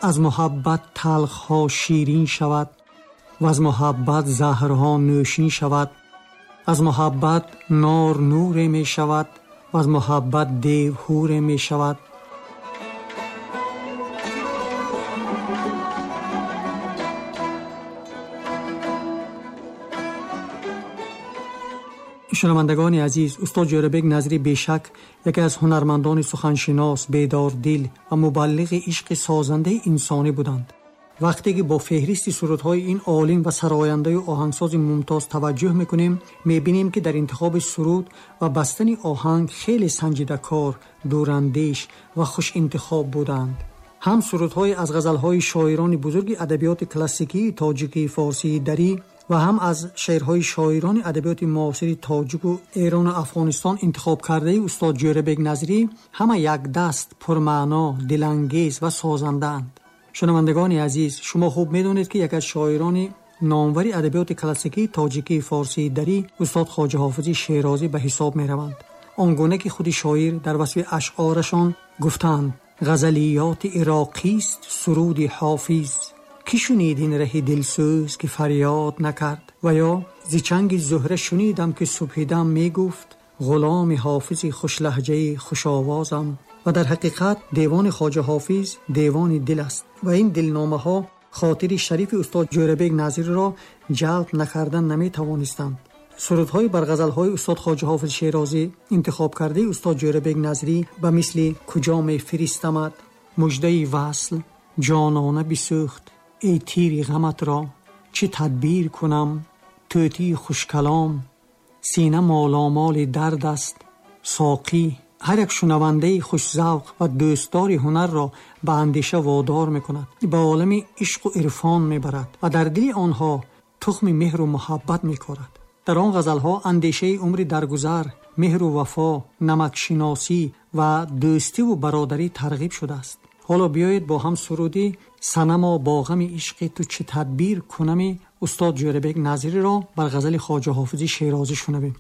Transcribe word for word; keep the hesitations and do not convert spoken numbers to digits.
Аз муҳаббат талхҳо ширин шавад ва аз муҳаббат заҳрҳо нӯшин шавад. Аз муҳаббат нор нуре мешавад ва аз муҳаббат дев ҳуре мешавад. Шунавандагони азиз, устод Ҷӯрабек Назарӣ бешак яке аз ҳунармандони суханшинос, бедордил ва мубаллиғи ишқи созандаи инсонӣ буданд. Вақте ки бо феҳристи сурудҳои ин олим ва сарояндаю оҳангсози мумтоз таваҷҷӯҳ мекунем, мебинем ки дар интихоби суруд ва бастани оҳанг хеле санҷидакор, дурандеш ва хушинтихоб буданд. Ҳам сурудҳои аз ғазалҳои шоирони бузурги адабиёти классикии тоҷикии форсии дарӣ ва ҳам аз шеърҳои шоирони адабиёти муосири тоҷику Эрону Афғонистон интихоб кардаи устод Ҷӯрабек Назарӣ ҳама якдаст, пурмаъно, дилангез ва созандаанд. Шунавандагони азиз, шумо хуб медонед ки яке аз шоирони номвари адабиёти классикии тоҷикии форсии дарӣ устод Хоҷа Ҳофизи Шерозӣ ба ҳисоб мераванд. Он гуна ки худи шоир дар васфи ашъорашон гуфтанд: ғазалиёти ироқист суруди ҳофиз, ки шунид ин раҳи дилсӯз ки фарёд накард. Ва ё зи чанги зуҳра шунидам ки субҳидам мегуфт ғуломи ҳофизи хушлаҳҷаи хушовозам. Ва дар ҳақиқат девони Хоҷа Ҳофиз девони дил аст ва ин дилномаҳо хотири шарифи устод Ҷӯрабек Назариро ҷалб накардан наметавонистанд. Сурудҳои бар ғазалҳои устод Хоҷа Ҳофиз Шерозӣ интихоб кардаи устод Ҷӯрабек Назарӣ ба мисли куҷо мефиристамад, муждаи васл, ҷонона бисӯхт, эй тири ғаматро, чӣ тадбир кунам, тӯтии хушкалом, сина моломоли дард аст, соқӣ, ҳар як шунавандаи хушзавқ ва дӯстдори ҳунарро ба андеша водор мекунад, ба олами ишқу ирфон мебарад ва дар дили онҳо тухми меҳру муҳаббат мекорад. Дар он ғазалҳо андешаи умри даргузар, меҳру вафо, намакшиносӣ ва дӯстиву бародарӣ тарғиб шудааст. Ҳоло биёед бо ҳам суруди санамо бо ғами ишқи ту чӣ тадбир кунами устод Ҷӯрабек Назариро бар ғазали Хоҷа Ҳофизи Шерозӣ шунавем.